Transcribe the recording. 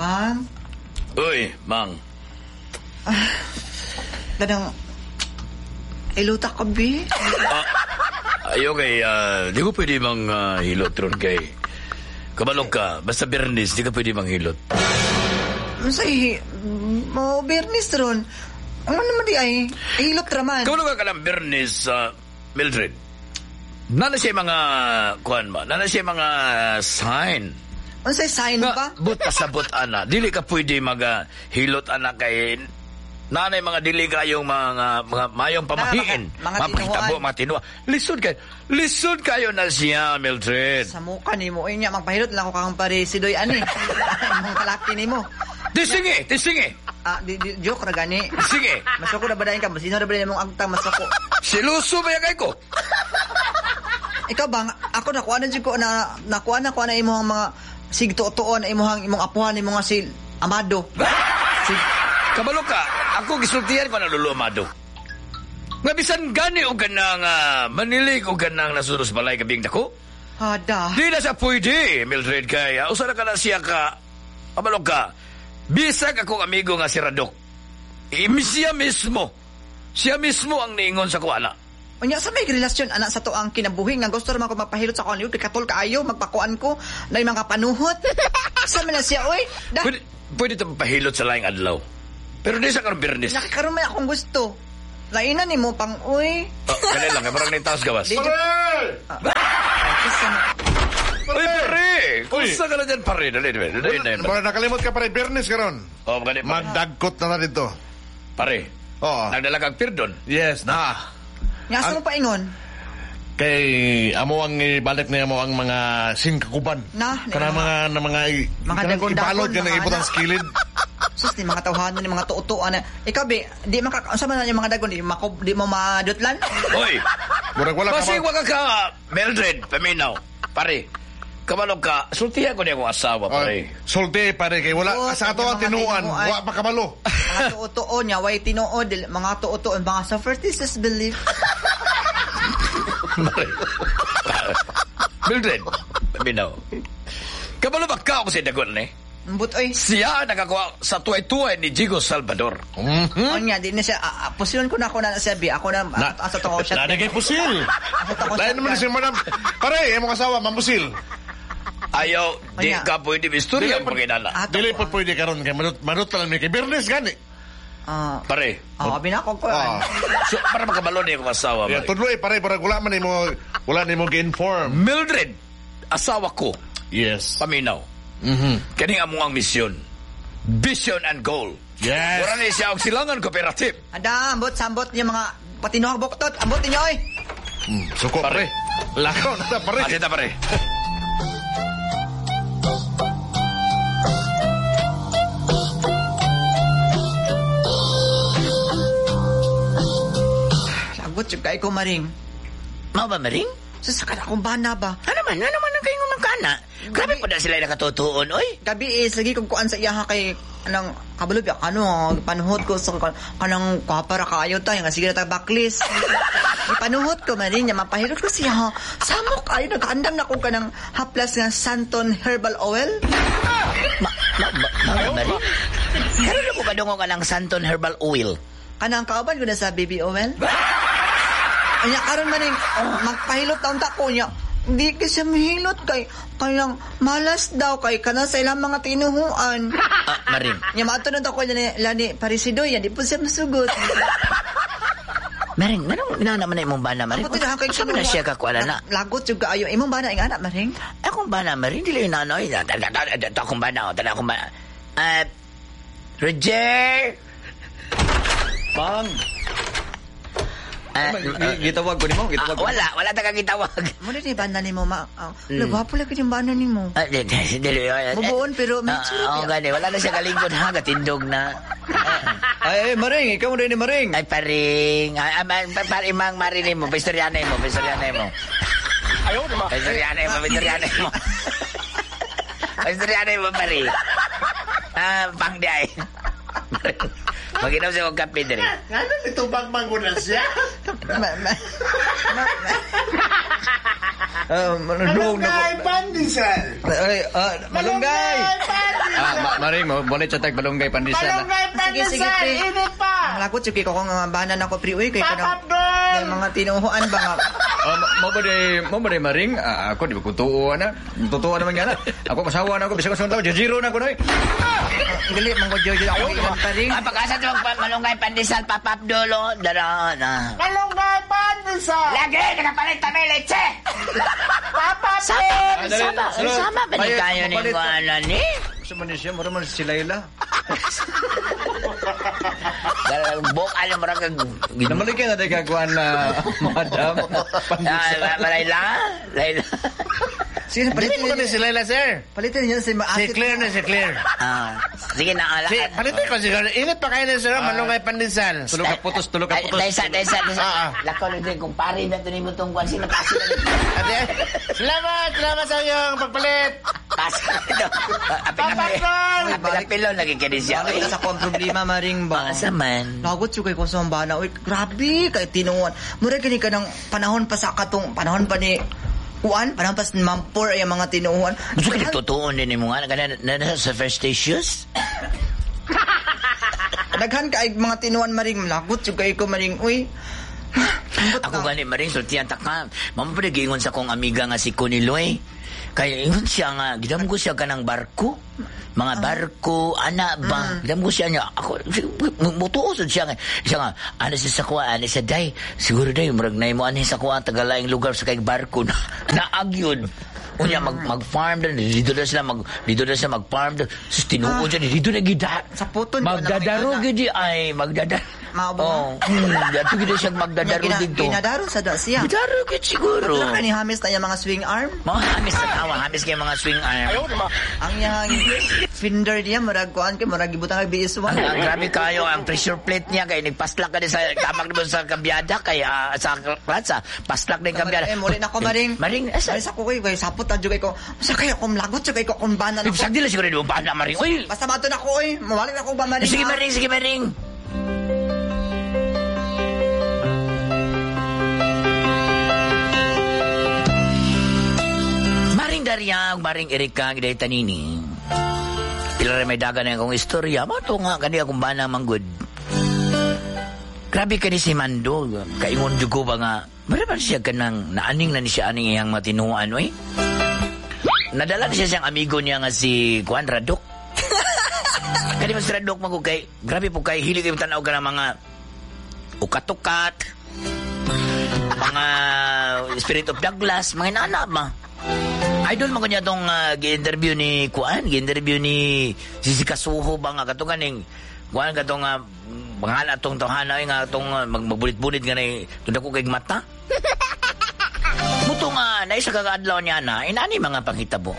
Pam, Uy, Mang. Kanang iluta ka, bi. Ayo kay, di ko pwede mang hilot ron kay. Kabalog ka, basta Bernis, di ka pwede manghilot. Say, mo Bernis ron. Ano naman di ay, hilot raman. Kabalog ka lang Bernis, Mildred. Nana siya mga, kuan ba? Nana siya mga sign. Unsay sign Nga, ba? but pasabot, ana. Dili ka pwede mag hilot, ana, kay nanay mga dili kayong mga mayong pamahiin. Mga Mapakitabo, tinuan. mga tinuan. Lisod kayo. Lisod kayo na siya, Mildred. Sa mukha ni mo, niya, magpahilot lang ako kang pare si Doy ani. Imong kalaki ni mo. Tisingi, tisingi. Ah, di, joke ra gani. Sige. Masuko na ba dayon ka? Masino na ba dayon mong agtang masuko? Siluso ba yan ko? Ikaw ba, ako nakuha na ko na nakuha na ko na imong mga sigtuo-tuon na imong imong apuhan imong nga si Amado. Si Kabalo ka, ako gisultihan ko na Lolo Amado. Nga bisan gani og kanang manilig og kanang nasunod sa balay gabing dako. Hada. Di na siya pwede, Mildred, kay usa na ka na siya ka, kabalo ka, bisag akong amigo nga si Radok. Siya mismo. Siya mismo ang niingon sa kuana. Unya sa may relasyon anak sa to ang kinabuhi nga gusto ra man ko magpahilot sa kuan kay katol kaayo magpakuan ko na yung mga panuhot. Sa man na siya oy. Da, Pwede ito pahilot sa laing adlaw. Pero di sa karon Biyernes. nakakaroon man akong gusto. Lainan nimo pang oy. Oh, kali lang, parang nitaas gawas. Di- Uy, pare! Kumusta ka na dyan, pare? Dali, dali, dali, dali. Mura nakalimot ka pare, Biyernes karon. Oh, gani, pare. Magdagkot na na dito. Pare. Oo. Nagdala kang pirdon. Yes, na. Nga sa mo paingon? Kay amo ang ibalik niya mo ang mga singkakuban. Na, Kana mga na mga Mga kanang dagol-dagol, ibalod ka na mga ibutang anak. sa kilid. Sus ni mga tawhanan ni mga tuo-tuo na. Ikaw be, di maka unsa man na yung mga dagon di mako di mo madutlan. Uy! Murag wala ka Basig wala ka, Mildred, paminaw. Pare, kabalog ka, sultihan ko niya akong asawa, pare. Sulti pare kay wala Oo, sa ato ang mga tinuan, tinuan. wa pa kabalo. Mga tuo-tuo niya, way tinuod, mga tuo-tuo, mga sa is belief. Pare. Mildred, paminaw. Kabalo ba ka ako sa dagon, eh? Mbut oy. Siya ang nakakuha sa tuway-tuway ni Jigo Salvador. Mm-hmm. Onya, di na siya, pusilon ko na ako na siya, bi. Ako na, asa to ko siya. Nada kay pusil. Asa to ko Lain naman si madam. Pare, imong asawa mamusil. Ayaw, di Onya. ka pwede istorya ang paginana. Ato Dili ko, po pwede karon kay manut lang mi kay Biyernes gani. Pare. Binakog ko. So, para makabalo niya akong asawa. Yeah, pare. tudlo eh pare, parang wala man nimo wala nimo gi-inform. Mildred, asawa ko. Yes. Paminaw. Mm-hmm. Kaning among ang misyon. Vision and goal. Yes. Wala ni siya og silangan cooperative. Ada, ambot, sambot niya mga patinuhang buktot. Ambot ninyo, oy. Suko, pare. Lakaw na pare. Asita, pare. Lagot, yung kay ko, Maring. Mao ba, Maring? Sa akong bana ba? Ano man ang kayong umangkana? Grabe po na sila nakatutuon, oy. Gabi is, lagi kong kuan sa iyaha kay anang kabalo ba ano panuhot ko sa kanang kapara kaayo tayo nga sige na ta backlist. Panuhot ko man niya mapahilot ko siya. Ha. Samok ayo nagkaandam na ko kanang haplas nga Santon herbal oil. Ma, Maring? Karon ako kadungog ka ng Santon Herbal Oil. Kanang kauban ko na sa baby oil. Anya karon man ning magpahilot na unta ko niya. Hindi ka siya mahilot kay kayang malas daw kay kana sa ilang mga tinuhuan. Ah, Maring. Nya maato na ko niya lani parisidoy, di po siya masugot. Maring, manong nana man na imong bana, Maring? Ako tinahang kay Saan na siya kakuala na? Lagot juga ayo imong bana ing anak Maring. Akong bana, Maring, dili yung nanoy. Akong bana, tala akong bana. Roger! Mang! Gitawag ko nimo, gitawag ko. Wala ta kang gitawag. Mo ni bana nimo ma. Wala gwapo lagi yung bana nimo. Dili. Mubuon pero may tsura. Oo, gani. Wala na siya kalingkod ha, katindog na. Ay, Maring, ikaw mo rin ni Maring. Ay, paring. Ay, pare, mang marinig mo. Pistoryanay mo, pistoryanay mo. Ayaw, di ba? Pistoryanay mo, pistoryanay mo. Pistoryanay mo, pare. Pang di ay. Mag-inom siya og kape diri. Ano nito bang mangunan siya? Malunggay pandesal. Ay, malunggay. Maring, mabulit sa tag malunggay pandesal. Malunggay Sige, sige, pandesal, pre. init pa. Ang lagot, sige ko kung nga banan ako, pre. Uy, kay Papa kanang Abdul! mga tinuhuan ba nga. Mo ba day, Maring? Ako, di ba kung tuo na? Totoo naman nga na. Ako, masawa na ako. Bisag ko sa tao, jajiro na ako na eh. Gali, manggo Jojo ako ilan pa rin. Ah, pag-asa ito malunggay pandesal, Papa Abdul, oh. Dara na. Malunggay pandesal. Lagi, nakapalit kami, leche! Papa Sama, dali, sama, dali. sama ba ni Ay, kayo ni mapalit. Kuana ni? Gusto man siya, mura man si Layla. Buk, alam mo rin Namalik na day kagkuhan na, madam. Pandesal. Layla? Layla? Sige, Dili mo palitin ni si Layla, sir. Palitin niya si Si Maasit. Claire na si Claire. Ah, sige na, ala. Si, palitin ko si Claire. Init pa kayo na, sir. Malunggay pandesal. Tulog ka putos, tulog ka putos. Daysa, daysa, daysa. Ah, ah. Lakaw na din, kung pare na ito ni mo itong kwan, sino kasi na Ate, salamat, salamat sa iyong pagpalit. Kasi ito. Papa Abdul! Apil-apilo, lagi ka din siya. Balik na sa akong problema, Maring ba? Asa man? Lagot yung kay ko sa bana. Uy, grabe kay tinuan. Mura gani ka ng panahon pa sa katong panahon pa ni Kuan, panahon pa sa mampor ay ang mga tinuan. Gusto ka totoo din mo nga, na, na, na, sa first issues? Daghan ka ay mga tinuan, Maring. Lagot yung kay ko, Maring. Uy. Ako gani maring sultihan ta ka. Mamo pa giingon sa akong amiga nga si Coniloy. Kay ingon siya nga gidam ko siya kanang barko. Mga barko, ana ba? Gidam ko siya niya. Ako mutuo sad siya nga. Siya nga ana siya sa kuha, ana siya day. Siguro day murag nay mo ani sa kuha tagalaing lugar sa kay barko na naagyon. Unya mag-farm dun, dito na sila mag-farm dun. Sus tinuod siya dito na gida. Sa puton, Magdadaro gid ay magdadaro. Maabo. Oh, dato gid siya magdadaro dito. Ginadaro sa da siya. Gidaro gid siguro. Wala ka ni Hamis na yung mga swing arm. Mga hamis sa tawa, hamis kay mga swing arm. Ang yang finder niya, murag kuan kay murag gibutang kay BS1. Ang grabe kayo, ang pressure plate niya kay nagpaslak ka din sa kamag mo sa kabyada kay sa klatsa, paslak din kabyada. Eh, muli na ko, Maring. Maring, asa? Maring sa ko kay sapot na jud kay ko. Sa kay ako lagot jud kay ko kung bana na ko. Sagdi lang siguro di ba na Maring. Uy, Basta mato na ko oy. Mawalik na ko ba Maring? sige ha? Maring, sige Maring. Maring Daria, Maring Erika, giday tanini. Pila rin may daga na akong istorya. Mato nga, kani akong bana manggod. Grabe ka ni si Mando. Kaingon jugo ba nga, mara ba siya kanang naaning na ni siya aning iyang matinuan, oy? Nadala na siya siyang amigo niya nga si Juan Radok. Kani mas Radok mago kay, grabe po kay, hilig yung tanaw ka ng mga ukat-ukat, mga Spirit of Douglas, mga inana ba? Idol man ko niya itong gi-interview ni Kuan, gi-interview ni si Kasuho ba nga katong kaning Kuan katong mga atong tawhana nga atong magbulit-bulit nga nay tunda ko kay mata. Muto nga naisa ka adlaw niya na inani mga panghitabo.